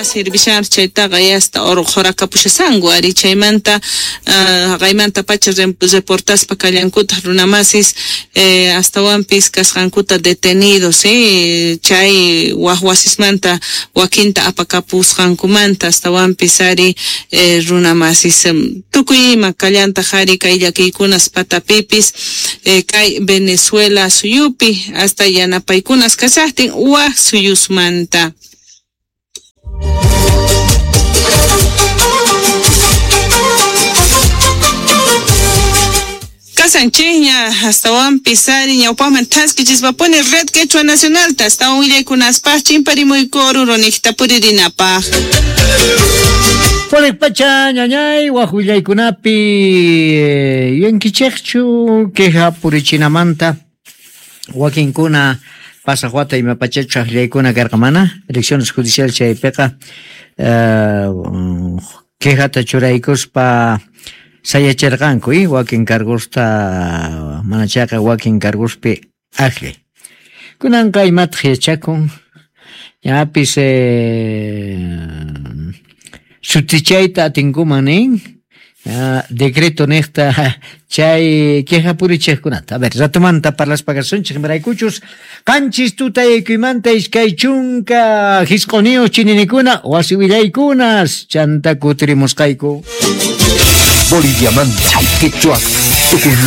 Sirvishanpis chaytaqa yasta orqhorakapushasanku ari chaymanta haqaymanta pacha reportaspa kallankutaq runamasis astawanpis kasqankuta detenidos chay waj wasismanta wakinta apakapusqankumanta astawanpis ari runamasis tukuy ima kallantaq ari kay llakiykunas patapipis kay Venezuela suyupi hasta yanapaykunas kashaqtin waj suyusmanta. Kasanchikña astawanpis ari ñawpaqman thaskichispapuni Red Quechua Nacionalta astawan willaykunaspaq chimparimuyku Oruro niqta puririnapaq. Purik pacha ñañay waj willaykunapi yuyankichikchu queja purichinamanta wakinkuna pasaq wata ima pachachu ajllaykuna karqa mana elecciones judiciales chaypiqa quejata churaykuspa sayachirqanku wakin cargosta mana chayqa wakin cargospi ajllay. Kunanqa imataq yachakun ñapis sutichayta atinkuman nin decreto niqta chay queja purichiqkunata. A ver, ratomanta parlaspa kasunchik imaraykuchus qanchis tutaykuymanta 29 chininikuna wasi willaykunas chanta kutirimusqayku. Boliviamanta, Quechua, Tucumán.